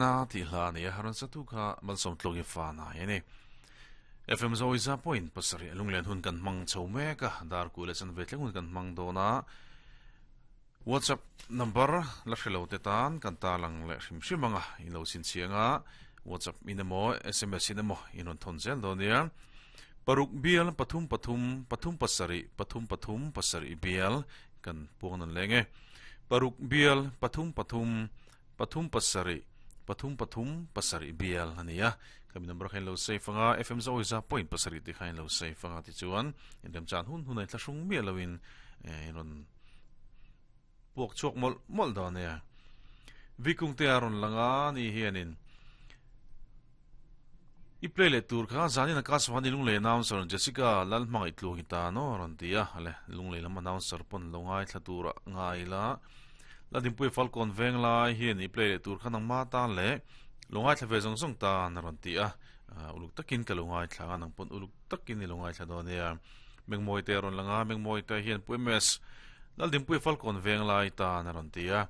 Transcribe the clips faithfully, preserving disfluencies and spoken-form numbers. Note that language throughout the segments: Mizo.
Na ti hla ni a haran satu kha malsawm tluangi fa na hi ani. F M Zoe za point pasarih lunglen hun kan hmang chho mek a, dar ku leh chan ve thleng hun kan hmang dawn a. WhatsApp number la hre lo te tan kan tarlang leh hrim hrim anga in lo chhinchhiang a, WhatsApp in emaw S M S in emaw in rawn thawn zel dawn nia. Paruk bial pathum pathum pathum pasarih pathum pathum pasarih bial kan puang nan leng e. Paruk bial pathum pathum pathum pasarih pathum pathum pasarih bial a ni a. Kami number kha in lo save anga, F M Zoe za point pasarih te kha in lo save anga tichuan inremchan hun hun a inthlahrung miah loin in rawn puak chhuak mawlh mawlh dawn nia. Vikung te a rawn lang a ni hianin i play leh tur kha zanin a Kaswani Lunglei announcer Jessica Lalhmangaih tluang i ta no a rawn ti a, le Lunglei lam announcer pawn lo ngaithla tur a ngai la. Ladinpui Falkawn veng lai hian i play leh tur kha nangma tan leh lo ngaithla ve zawng zawng tan a rawn ti a, uluk takin ka lo ngaithla a, nang pawn uluk takin i lo ngaithla dawn nia. Mengmawi te a rawn lang a, Mengmawi te hian Pu M S Laldinpui Falkawn veng lai tan a rawn ti a,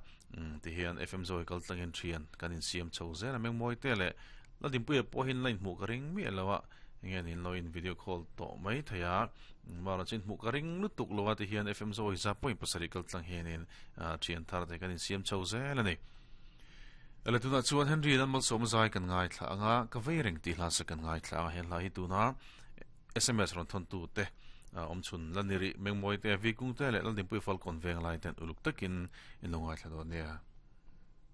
ti hian F M Zoe kal tlangin thian kan insiam chho zel a, Mengmawi te leh Laldinpuia pawh hian la inhmuh ka ring miah lo a, enge niin lo in video call tawh mai thei a, mara chu inhmuh ka ring lutuk lo a ti hian F M Zoe za point pasarih kal tlang hianin thian thar te kan insiam chho zel a ni. Ele tunah chuan Henry Lalmalsawma zai kan ngaithla anga ka vei reng tih hla sa kan ngaithla anga he hla hi tuna S M S rawn thawn tu te awm chhun la ni rih Mengmawi te, Vikung te leh Laldinpui Falkawn veng lai ten uluk takin in lo ngaithla dawn nia.